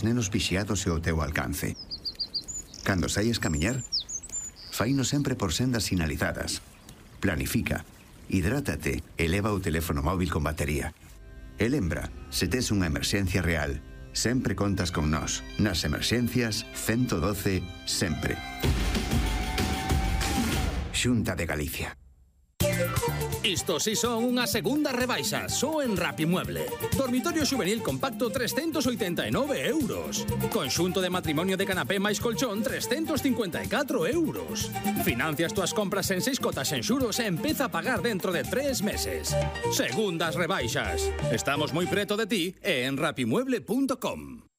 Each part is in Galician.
nenos vixiados e o teu alcance. Cando saies camiñar, faino sempre por sendas sinalizadas. Planifica, hidrátate e leva o teléfono móvil con batería. E lembra, se tes unha emerxencia real, sempre contas con nós. Nas emerxencias, 112, sempre. Xunta de Galicia. Isto si son unha segunda rebaixa, só en Rapimueble. Dormitorio xuvenil compacto 389 euros. Conxunto de matrimonio de canapé máis colchón 354 euros. Financias túas compras en 6 cotas en xuros e empeza a pagar dentro de 3 meses. Segundas rebaixas. Estamos moi preto de ti e en rapimueble.com.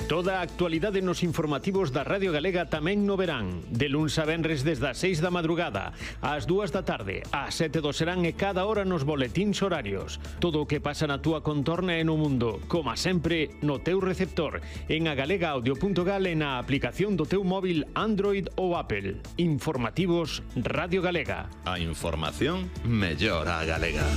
Toda a actualidade nos informativos da Radio Galega tamén no verán. De luns a venres desde as 6 da madrugada, ás 2 da tarde, ás 7 do serán e cada hora nos boletíns horarios. Todo o que pasa na túa contorna e no mundo, como sempre, no teu receptor, en agalegaudio.gal e na aplicación do teu móvil Android ou Apple. Informativos Radio Galega. A información mellor a galega.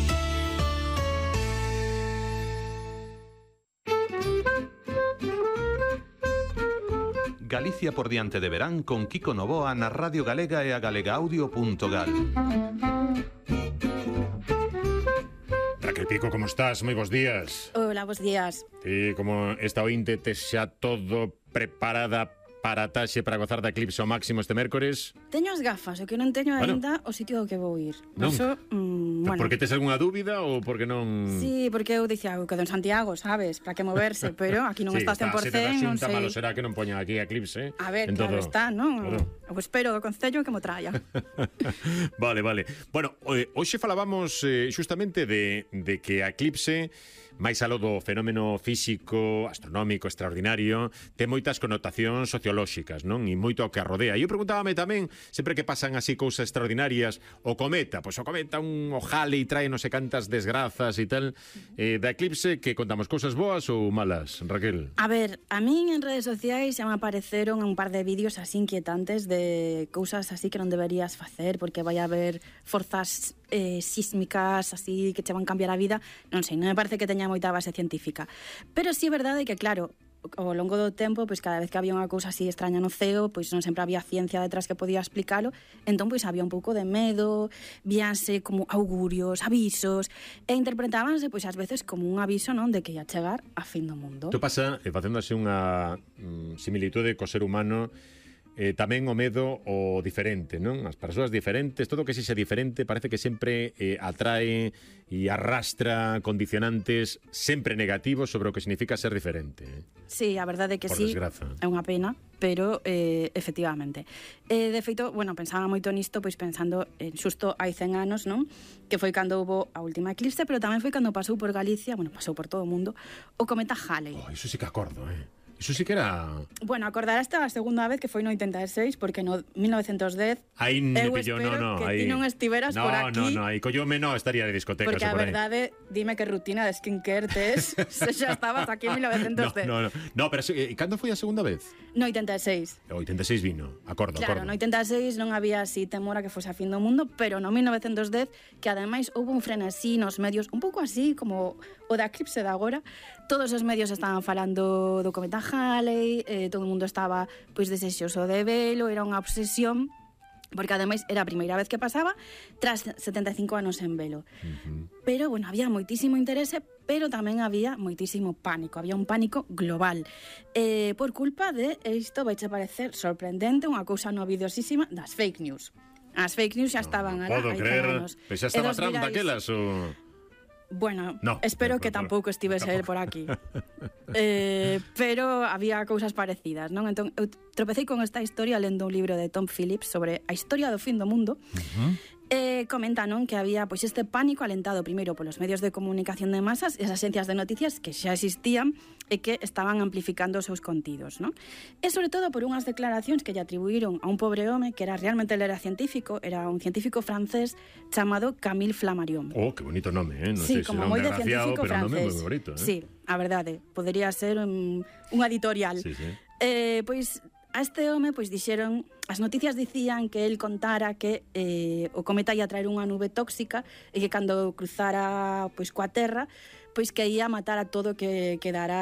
Galicia por diante de verán con Kiko Novoa na Radio Galega e a galegaudio.gal. Raquel Pico, como estás? Moi bons días. Hola, bons días. Ti, como esta ointe, tes xa todo preparada para a taxe para gozar da eclipse ao máximo este mércores? Teño as gafas, o que non teño aínda o sitio ao que vou ir. Non? Eso, bueno. Porque tes algunha dúbida ou porque non... Sí, porque eu dicía, que en Santiago, sabes, para que moverse, pero aquí non sí, está 100%, non sei. Malo será que non poñan aquí a eclipse. A ver, claro todo... está, non? Claro. Eu espero do Concello que mo traia. Vale. Bueno, hoxe falábamos xustamente de que a eclipse, máis aló do fenómeno físico, astronómico, extraordinario, ten moitas connotacións sociolóxicas, non? E moito ao que a rodea. E eu preguntábame tamén, sempre que pasan así cousas extraordinarias, o cometa, pois o cometa un ojale e trae non sei cantas desgrazas e tal, da eclipse, que contamos cousas boas ou malas, Raquel? A ver, a min en redes sociais xa me apareceron un par de vídeos así inquietantes de cousas así que non deberías facer, porque vai haber forzas sísmicas así que che van cambiar a vida, non sei, non me parece que teña moita base científica. Pero sí é verdade que, claro, ao longo do tempo, pois cada vez que había unha cousa así extraña no ceo, pois non sempre había ciencia detrás que podía explicalo, entón pois había un pouco de medo, víanse como augurios, avisos, e interpretábanse pois ás veces como un aviso, non, de que ia chegar a fin do mundo. Tu pasa, facendo así unha similitude co ser humano, tamén o medo o diferente, non? As persoas diferentes, todo o que sexa diferente parece que sempre atrae e arrastra condicionantes sempre negativos sobre o que significa ser diferente. Sí, a verdade é que por sí, desgraza. É unha pena, pero efectivamente. De feito, bueno, pensaba moito nisto, pois pensando xusto hai 100 anos, non? Que foi cando houve a última eclipse, pero tamén foi cando pasou por Galicia, bueno, pasou por todo o mundo, o cometa Halley. Iso sí que acordo, Iso sí que era... Bueno, acordarás a segunda vez que foi no 86, porque no 1910 aí me eu pillou, espero que aí... ti non estiveras por aquí. No, aí collome estaría de discoteca. Porque a verdade, dime que rutina de skincare tes se xa estabas aquí en 1910. No, pero cando foi a segunda vez? No 86. O 86 vino, acordo. Claro, no 86 non había así temor a que fose a fin do mundo, pero no 1910, que ademais houve un frenesí nos medios, un pouco así como o da eclipse de agora, todos os medios estaban falando do cometa Halley, todo o mundo estaba pois desexoso de velo, era unha obsesión, porque ademais era a primeira vez que pasaba tras 75 anos en velo. Pero, bueno, había moitísimo interese, pero tamén había moitísimo pánico, había un pánico global, por culpa de, isto vai che parecer sorprendente, unha cousa novidosísima das fake news. As fake news xa estaban alá, hai anos. Pois xa estaba Trump daquelas, ou... Bueno, espero que tampouco estivese el por aquí. Pero había cousas parecidas, non? Entón, eu tropecei con esta historia lendo un libro de Tom Phillips sobre a historia do fin do mundo. Comenta, non, que había pois este pánico alentado primeiro polos medios de comunicación de masas e as agencias de noticias que xa existían e que estaban amplificando os seus contidos, non? E sobre todo por unhas declaracións que lle atribuíron a un pobre home que era realmente era científico, era un científico francés chamado Camille Flammarion. Oh, que bonito nome, non sí, sei como se moi de científico pero francés. Nome moi bonito, Sí, a verdade, podería ser un editorial. Sí. Pois a este home pois dixeron, as noticias dicían que el contara que o cometa ia traer unha nube tóxica e que cando cruzara pois coa Terra pois que ia matar a todo que quedara